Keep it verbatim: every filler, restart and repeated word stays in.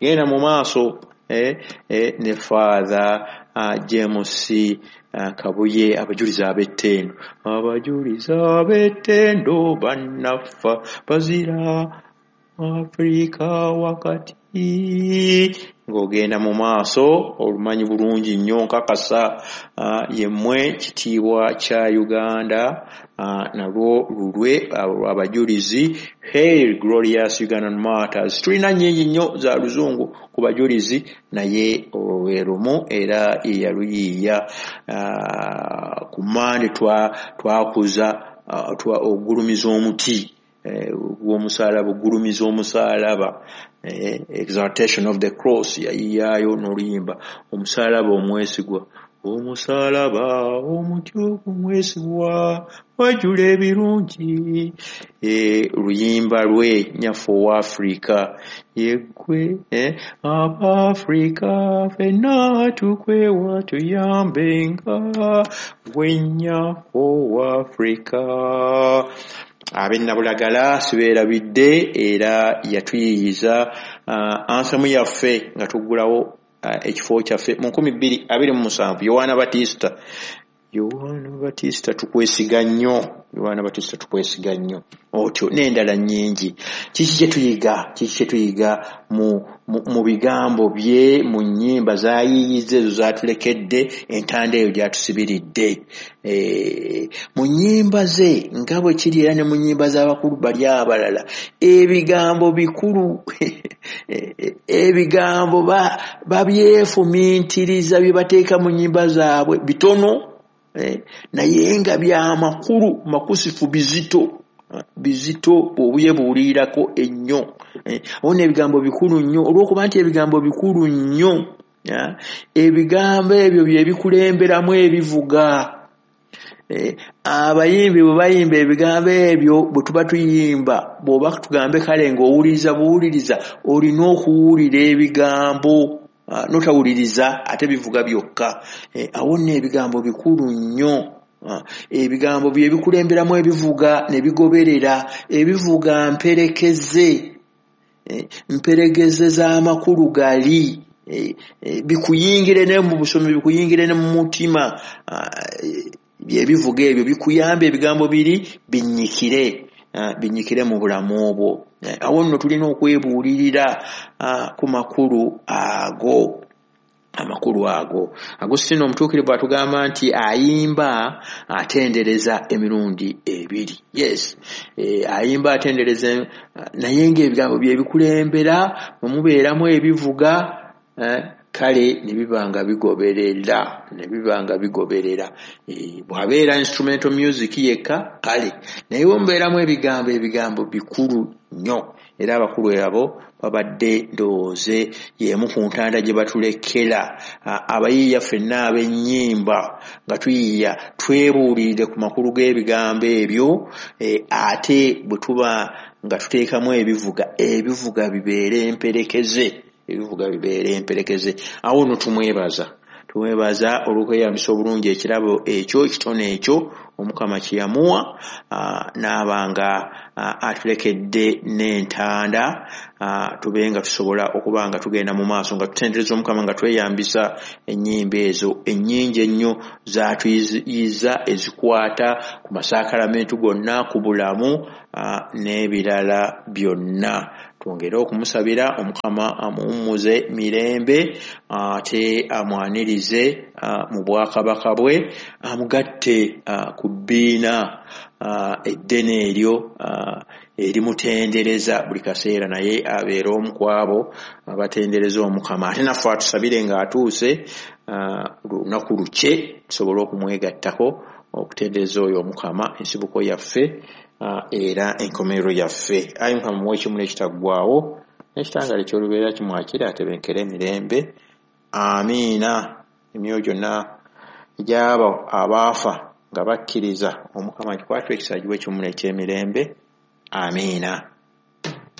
Genda mu maaso eh, eh, ne Father uh, James uh, Kabuye, abajulizi ab'ettendo, abajulizi ab'ettendo bannaffa bazira Afrika wakati. Ng'ogenda mu maaso olumanyi bulungi nnyo, nkakasa uh, yemmwe kitiibwa kya Uganda, uh, nalwo lulwe abajulizi. Hail glorious Ugandan martyrs. Tulina nnyingi nnyo za luzungu ku bajulizi, naye olwo lwe lumu era yeyaluyiiya. uh, ku Mande twakuza twa ogulumiza omuti gw'omusaalaba, ogulumiza omusaalaba, exaltation of the cross, yayiyayo n'oluyimba omusaalaba omwesigwa, omusaalaba omuti ogumwesigwa wajula ebirungi, luyimba lwe nyaffe owa Afrika yeggwe, Abafrika ffenna tukwewa tuyambenga gwe nnyaffe owa Afrika. Ab'ennabulagala sibeerabidde, era yatuyiiyiza uh, ansamu yaffe nga tuggulawo uh, ekifo kyaffe mu nkumi bbiri abiri mu musanvu. Yowaana Batista, Yowaana Batista tukwesiga nnyo, Yowaana Batista tukwesiga nnyo, otyo n'endala nnyingi. Kiki kye tuyiga? Kiki kye tuyiga mu, mu, mu bigambo bye, mu nnyimba z'ayiiyiza ezo z'atulekedde, entanda eyo gy'atusibiridde? E, mu nnyimba ze nga bwe kiri era ne mu nnyimba z'abakulu bali abalala, ebigambo bikulu, ebigambo babyefumiitiriza bye bateeka mu nnyimba zaabwe bitono, eh, naye nga byamakulu makusifu, bizito bizito bw'obuye buwulirako ennyo. Awo n'ebigambo bikulu nnyo, olw'okuba nti ebigambo bikulu nnyo, ebigambo ebyo bye bikulemberamu ebivuga. Abayimbi bwe bayimba ebigambo ebyo, bwe tuba tuyimba, bw'oba tugambe kale ng'owuliriza buwuliriza, olina okuwulira ebigambo, notawuliriza ate bivuga byokka. Awo nno ebigambo bikulu nnyo, ebigambo bye bikulemberamu ebivuga ne bigoberera. Ebivuga mperekeze, mperekeze z'amakulu gali, bikuyingire ne mu busomi, bikuyingire ne mu mutima. Byebivuga ebyo bikuyamba, ebigambo biri binnyikire, binnyikire mu bulamu obwo. Awo nno tulina okwebuulirira ku makulu ago, amakulu ago. Agustino omutuukirivu atugamba nti ayimba atendereza emirundi ebiri. Yes, e, ayimba atendereza, naye ng'ebigambo bye bikulembera, bwe mubeeramu ebivuga, eh, kale ne biba nga bigoberera, ne biba nga bigoberera. E, bw'abeera instrumental music yekka kale, naye bwe mubeeramu ebigambo, ebigambo bikulu nnyo. Era abakulu abo babadde ndowooze y'emu ku ntanda gye batulekera abayiiya ffenna ab'ennyimba, nga tuyiiya twebuulirire ku makulu g'ebigambo ebyo, e, ate bwe tuba nga tuteekamu ebivuga, ebivuga bibeere emperekeze, ebivuga bibeere emperekeze. Awo nno tumwebaza, tumwebaza olw'okweyambisa obulungi ekirabo ekyo, ekitone ekyo Omukama kye yamuwa, n'aba nga atulekedde n'entanda, tube nga tusobola okuba nga tugenda mu maaso nga tutendereza Omukama nga tweyambisa ennyimba ezo ennyingi ennyo z'atuyiza, ezikwata ku masakalamentu gonna, ku bulamu n'ebirala byonna. Twongere okumusabira Omukama amuwummuze mirembe, ate amwanirize mu bwakabaka bwe, amugatte ku bbiina eddene eryo erimutendereza buli kaseera, naye abeere omu ku abo abatendereza Omukama. Ate naffe atusabire ng'atuuse lunaku lukye tusobole okumwegattako okutendereza oyo Omukama, ensibuko yaffe era enkomerero yaffe. Ayi Mukama, muwe ekimuli ekitaggwaawo n'ekitangaala eky'olubeerera kimwakire, atebenkere emirembe. Amiina. Emyoyo gyonna egy'abo abaafa nga bakkiriza Omukama gikwatwe ekisa, giwe ekimuli eky'emirembe. Amiina.